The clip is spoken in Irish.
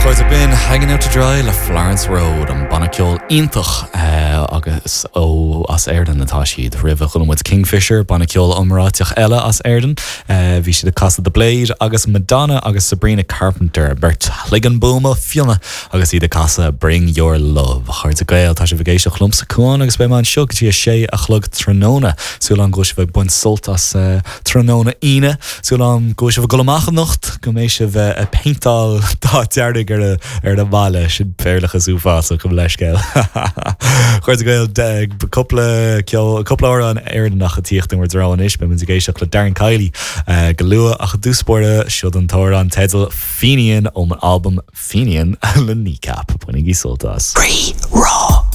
A chairde, b'in Hanging Out To Dry le Florence Road, an banna ceoil iontach agus ó as Éirinn atá siad. Roimhe chuala muid Kingfisher, banna ceoil iomráiteach eile as Éirinn. Bhí siad ag casadh The Blade agus Madonna agus Sabrina Carpenter, beirt chloigeann buama fionna agus iad ag casadh Bring Your Love. A chairde Gael, tá sibh ag éisteacht liomsa, Cuán, agus beidh mé anseo go dtí a sé a chlog tráthnóna. Súil agam go bhfuil sibh ag baint sult as tráthnóna Aoine. Súil agam go bhfuil sibh ag dul amach anocht, go mbeidh sibh ag péinteáil dath dearg ar ar an mbaile, sin Béarlachas uafásach, gabh mo leithscéal. A chairde Gael, cúpla ceol, cúpla amhrán Éireannach ag tíocht in bhur dtreo anois, beidh muid ag éisteacht le Darren Kiely go luath ach i dtús báire, siod an t-amhrán teidil Fenian ón albam Fenian le Kneecap. Bainigí sult as. Rí Rá.